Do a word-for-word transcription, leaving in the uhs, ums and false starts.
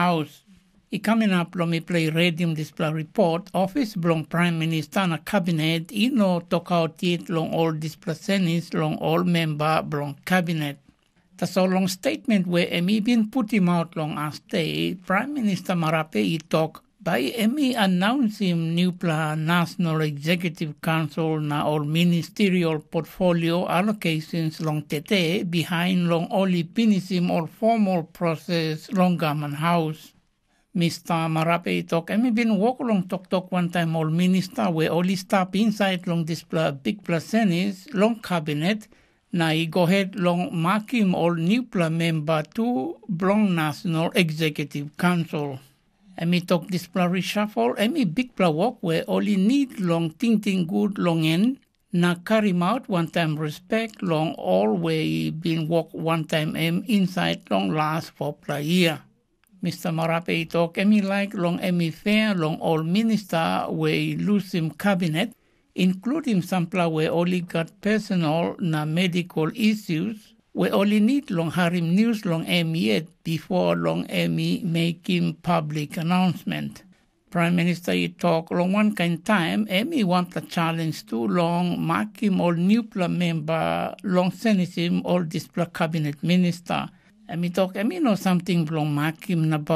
Haus. I kam inap long mipela i redim dispela ripot, ofis bilong Pram Minista na Kabinet i no tokaut yet long ol dispela senis long ol memba bilong Kabinet. Tasol long statement we em i bin putim aut long asde, Pram Minista Marape i tok, bai em i anaunsim nupela National Executive Council na ol ministerial portfolio allocations long tete bihain long ol i pinisim ol formal proses long gavman haus. Mista Marape i tok em i bin wok long toktok wantaim ol minista we ol i stap insait long dispela bikpela senis long kabinet, na i go het long makim ol nupela memba tu bilong National Executive Council. Em i tok dispela reshuffle em i bikpela wok we ol i nid long tingting gut long en, na karimaut wantaim respek long ol we i bin wok wantaim em insait long las fopela yia. Mista Marape i tok em i laik long em i fea long ol minista we i lusim kabinet, inkludim sampela we ol i gat personal na medical issues, we ol i nid long harim nius long em yet bipo long em i mekim public announcement. Pram Minista i tok long wankain taim em i wanpela challenge tu long makim ol nupela memba long senisim ol dispela kabinet minista. Em i tok em i no samting bilong makim nabaut